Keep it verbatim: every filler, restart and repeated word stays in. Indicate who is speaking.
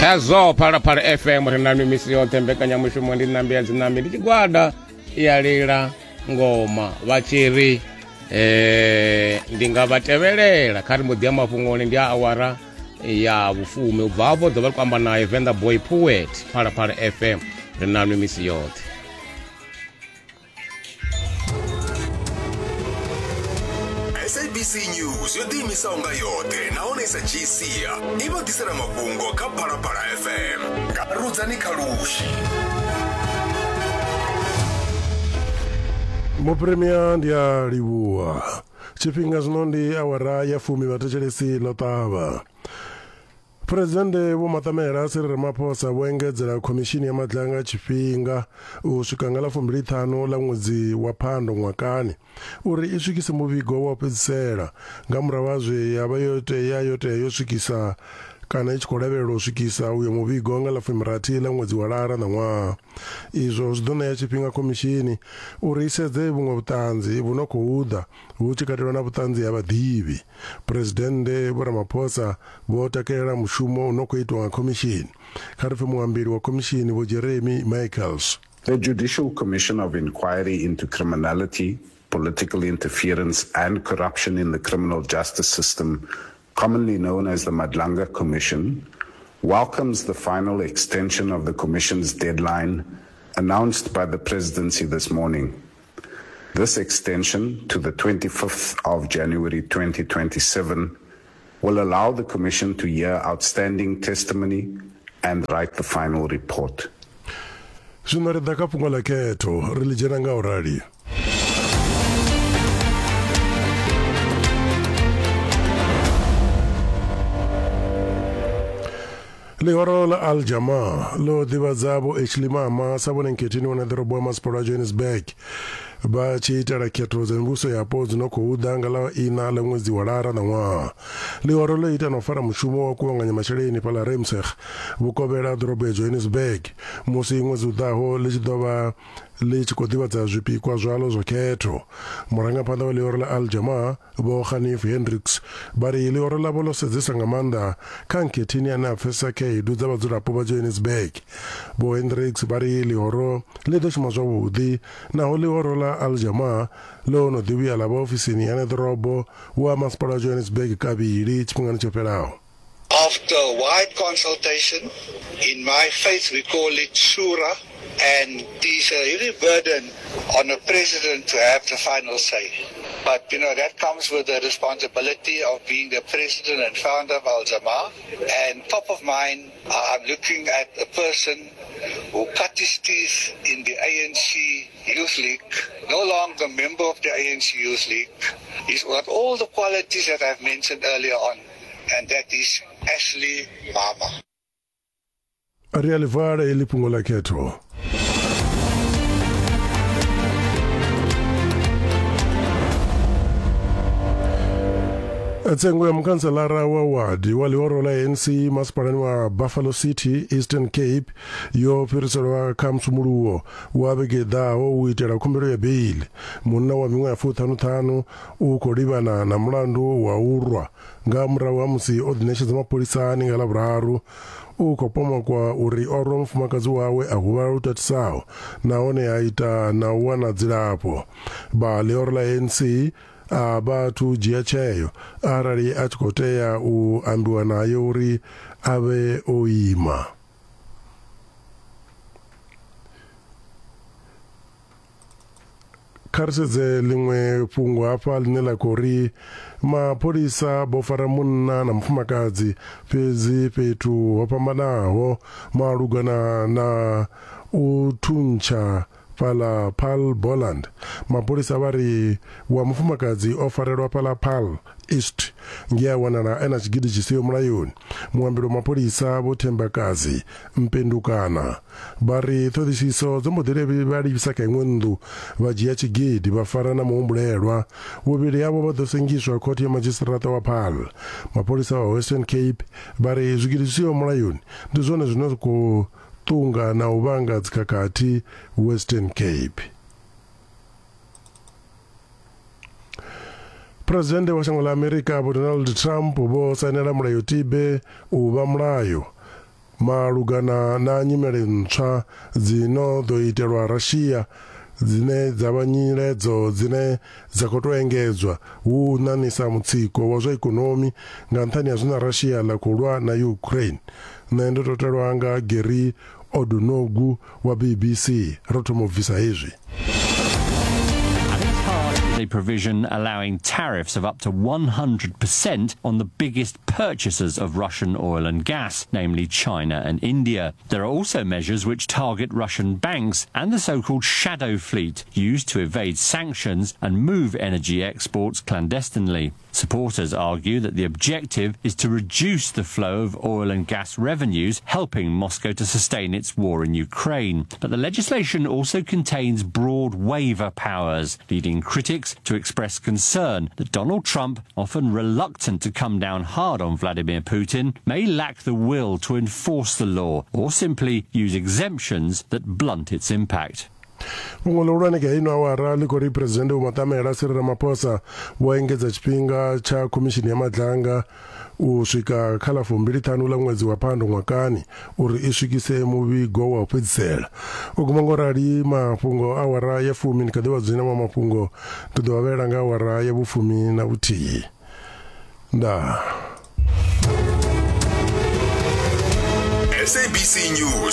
Speaker 1: Khazwo Phalaphala F M ri na misi yoṱhe, mbekanyamushumo ndi ṋambi ya dzinambi, ndi tshigwada ya lila ngoma vha tshi ri eh ndi nga vha tevhelela kha ri mbo ḓi ya mafhungoni. Ndi a awara ya vhufumi, ubva hafho ḓo vha ri khou amba naye Venḓa Boy Poet. Phalaphala F M ri na misi yoṱhe.
Speaker 2: S A B C News yo ḓiimisaho nga yoṱhe nahone sa G C i vha ḓisela mafhungo kha Phalaphala F M nga Rudzani Khalushi.
Speaker 3: Mupremia ndi a livhuwa. Tshifhinga zwino ndi awara ya fumi, vhathetshelesi ḽo ṱavha. Presidennde Vho Matamela Cyril Ramaphosa vho engedzela khomishini ya Madlanga tshifhinga u swika nga ḽa fumbili ṱhanu ḽa ṅwedzi wa Phando ṅwakani uri i swikise muvhigo wa u fhedzisela nga murahu ha zwe ya vha yo tea yo tea yo swikisa kana i tshi khou lavhelelwa u swikisa uyo muvhigo nga ḽa fumirathi ḽa ṅwedzi wa Lara ṋaṅwaha. Izwo zwi ḓo ṋea tshifhinga khomishini uri i sedze vhuṅwe vhuṱanzi vhu no khou ḓa hu tshi katelwa na vhuṱanzi ha vhaḓivhi. Presidennde Vho Ramaphosa vho takalela mushumo u no khou itwa nga khomishini. Kha ri pfe muambeli wa khomishini Vho Jeremy Michaels.
Speaker 4: The Judicial Commission of Inquiry into Criminality, Political Interference and Corruption in the Criminal Justice System, commonly known as the Madlanga Commission, welcomes the final extension of the Commission's deadline announced by the Presidency this morning. This extension to the twenty-fifth of January twenty twenty-seven will allow the Commission to hear outstanding testimony and write the final report.
Speaker 3: Zwino ri ḓa kha fhungo ḽa khetho, ri ḽi dzhena nga u rali. Ḽihoro ḽa Al Jamaa ḽo ḓivhadza Vho Ashley Mama sa vhone nkhetheni wa ḓorobo wa masipala wa Johannesburg vha tshi itela khetho dza mivhuso yapo dzi no khou ḓa nga ḽa ina ḽa ṅwedzi wa Lara ṋaṅwaha. Ḽihoro ḽo ita na u fara mushumo wa kuvhanganya masheleni fhaḽa Remseg vhukovhela ḓorobo ya Johannesburg musi ṅwedzi u ḓaho ḽi tshi ḓo vha ḽi tshi khou ḓivhadza zwipikwa zwalo zwa khetho. Murangaphanḓa wa ḽihoro ḽa Al Jamaa Vho Hanif Hendricks vha ri ḽihoro ḽavho ḽo sedzesa nga maanḓa kha nkhetheni ane a pfesesa khaedu dza vhadzulapo vha Johannesburg. Vho Hendricks vha ri ḽihoro ḽi ḓo shuma zwavhuḓi naho ḽihoro ḽa Al Jamaa ḽo no ḓi vhuya ḽa vha ofisini ya ḓorobo wa masipala wa Johannesburg kavhili tshifhingani tsho fhelaho.
Speaker 5: After wide consultation, in my faith we call it shura, and it is a heavy burden on a president to have the final say. But, you know, that comes with the responsibility of being the president and founder of Al Jamaa. And top of mind, I'm looking at a person who cut his teeth in the A N C Youth League, no longer a member of the A N C Youth League. He's got all the qualities that I've mentioned earlier on, and that is Ashley Mama.
Speaker 3: Ri a ḽi vala heḽi fhungo ḽa khetho. Tsengo ya mukhanselara wa wadi wa ḽihoro ḽa A N C masipalani wa Buffalo City Eastern Cape yo fhiriselwa kha musumuluwo wa vhege ḓaho u itela khumbelo ya beili. Munna wa miṅwaha ya fuṱhanuṱhanu u khou livhana na mulandu wa u rwa nga murahu ha musi o ḓiṋetshedza mapholisani nga Ḽavhuraru. U khou pomokwa uri o rwa mufumakadzi wawe a huvhala lu tatisaho nahone a ita na u wana dzilafho. Vha ḽihoro ḽa A N C a vhathu dzhia tsheo arali a tshi khou tea u ambiwa naye uri a vhe o ima. Kha ri sedze ḽiṅwe fhungo hafha ḽine ḽa khou ri mapholisa vho fara munna na mufumakadzi fhedzi fhethu ho fhambanaho malugana na u thuntsha fhaḽa Paarl Boland. Mapholisa vha ri wa mufumakadzi o farelwa fhaḽa Paarl East nge a wanala e na tshigidi tshi siho mulayoni. Muambeli wa mapholisa Vho Thembakazi Mpendukana vha ri ṱhoḓisiso dzo mbo ḓi vha livhisa kha iṅwe nnḓu vha dzhia tshigidi vha fara na muhumbulelwa. Vhuvhili havho vha ḓo sengiswa khothe ya madzhisiṱiraṱa wa Paarl. Mapholisa wa Western Cape vha ri zwigidi zwi siho mulayoni ndi zwone zwine zwa khou ṱunga na u vhanga dzikhakhathi Western Cape. Presidennde wa shango ḽa Amerika Vho Donald Trump vho sainela mulayotibe u vha mulayo Malugana na nyimele ntswa dzino ḓo itelwa Russia dzine dza vha nyiledzo dzine dza khou tou engedzwa hu ṋaṋisa mutsiko wa zwa ikonomi nga nṱhani ha zwine Russia ḽa khou lwa na Ukraine. Nṋe ndo totelwa nga Gary Odunogu wa B B C. Ro thoma u bvisa hezwi.
Speaker 6: A provision allowing tariffs of up to one hundred percent on the biggest purchasers of Russian oil and gas, namely China and India. There are also measures which target Russian banks and the so-called shadow fleet, used to evade sanctions and move energy exports clandestinely. Supporters argue that the objective is to reduce the flow of oil and gas revenues, helping Moscow to sustain its war in Ukraine. But the legislation also contains broad waiver powers, leading critics to express concern that Donald Trump, often reluctant to come down hard on Vladimir Putin, may lack the will to enforce the law or simply use exemptions that blunt its impact.
Speaker 3: Fhungo ḽihulwane kha ino awara ḽi khou ri Presidennde Vho Matamela Cyril Ramaphosa vho engedza tshifhinga tsha khomishini ya Madlanga u swika kha ḽa fumbili ṱhanu ḽa ṅwedzi wa Phando ṅwakani uri i swikise muvhigo wa u fhedzisela. U guma ngo rali mafhungo awara ya fumi ndi kha ḓi vha dzina ma mafhungo ndi ḓo vha vhela nga awara ya vhufumi na vhuthihi. Ndaa.
Speaker 2: S A B C News.